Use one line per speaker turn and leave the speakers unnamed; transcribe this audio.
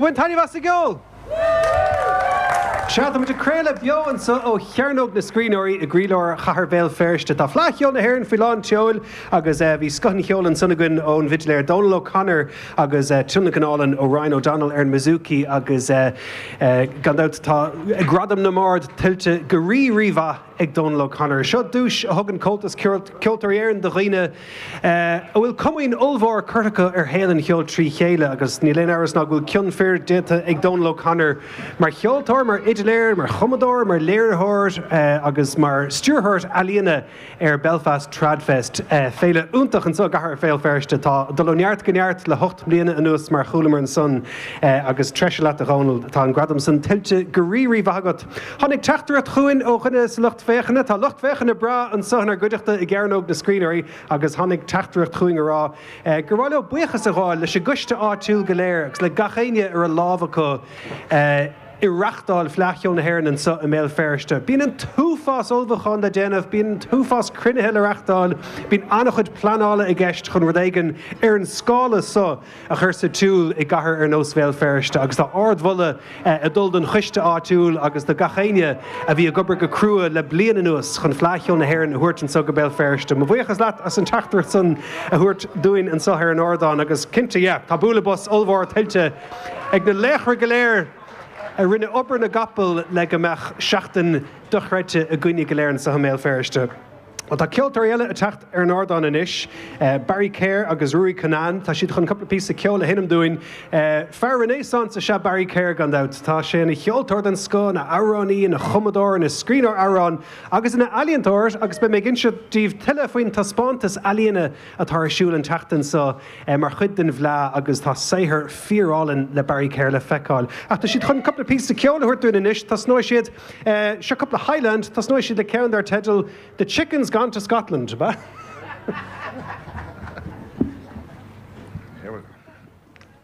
Bhain taitneamh as an gceol! Sea, táimid ag craoladh beo anseo ó Chearnóg na Scríbhneoirí i gcroílár chathair Bhéal Feirste. Tá Fleadh Cheoil na hÉireann faoi lán tseoil agus bhí scoth an cheoil ansan againn ón bhfidléir Dónal O'Connor agus tionlacan álainn ó Ryan O'Donnell ar an mbouzouki agus gan dabht tá gradam na mbard tuillte go rí-rí-mhaith ag Dónal O'Connor. Seo duais a thugann Comhaltas Ceoltóirí Éireann do dhaoine a bhfuil comaoin ollmhór curtha acu ar shaol an cheoil trí chéile agus níl aon amhras ná go bhfuil cion fir déanta ag Dónal O'Connor mar cheoltóir, mar fhidléir, mar chumadóir, mar léiritheoir agus mar stiúrthóir ealaíona ar Belfast Tradfest, féile iontach anseo i gcathair Bhéal Feirste atá ag dul ó neart go neart le hocht mbliana anuas mar a chualamar ansan agus treise leat a Dhónaill, tá an gradam san tuillte go rí-rí-mhaith agat. Tháinig teachtaireacht chugainn ó dhuine sa lucht féachana. Tá lucht féachana breá anseo inár gcuideachta i gCearnóg na Scríbhneoirí agus tháinig teachtaireacht chugainn a rá gur mhaith leo buíochas a ghabháil leis an gcoiste áitiúil go léir agus le gach éinne a raibh lámh acu i reachtáil Fleadh Cheoil na hÉireann anseo i mBéal Feirste. Bíonn an t-uafás ullmhúchán le déanamh, bíonn an t-uafás cruinnithe le reachtáil, bíonn an-chuid pleanála i gceist chun rud éigin ar an scála so a chur sa tsiúl i gcathair ar nós Bhéal Feirste agus tá ardmholadh ag dul don choiste áitiúil agus do gach éinne a bhí ag obair go crua le bliain anuas chun Fleadh Cheoil na hÉireann a thabhairt anseo go Béal Feirste. Mo bhuíochas leat as an teachtaireacht san a thabhairt dúinn anseo ar an ardán agus cinnte, yeah, tá bualadh bos ollmhór tuillte ag na laochra go léir a rinne obair na gcapall le go mbeadh seachtain dochreidte againne go léir anseo i mBéal Feirste. Bhuel, tá ceoltóirí eile ag teacht ar an ardán anois, Barry Kerr agus Ruairí Cunnane. Tá siad chun cúpla píosa ceoil a sheinm dúinn. Fear Renaissance is ea Barry Kerr, gan dabht. Tá sé ina cheoltóir den scoth, ina amhránaí, ina chumadóir, ina scríbhneoir amhrán agus ina ealaíontóir agus beidh mé ag inse daoibh tuilleadh faoin taispeántas ealaíne atá ar siúl an tseachtain seo mar chuid den bhFleadh agus tá saothar fíorálainn le Barry Kerr le feiceáil. Ach tá siad chun cúpla píosa ceoil a thabhairt dúinn anois. Tosnóidh siad. Seo cúpla Highland, tosnóidh siad le ceann dar teideal The Chicken's Gone to Scotland, ab ea?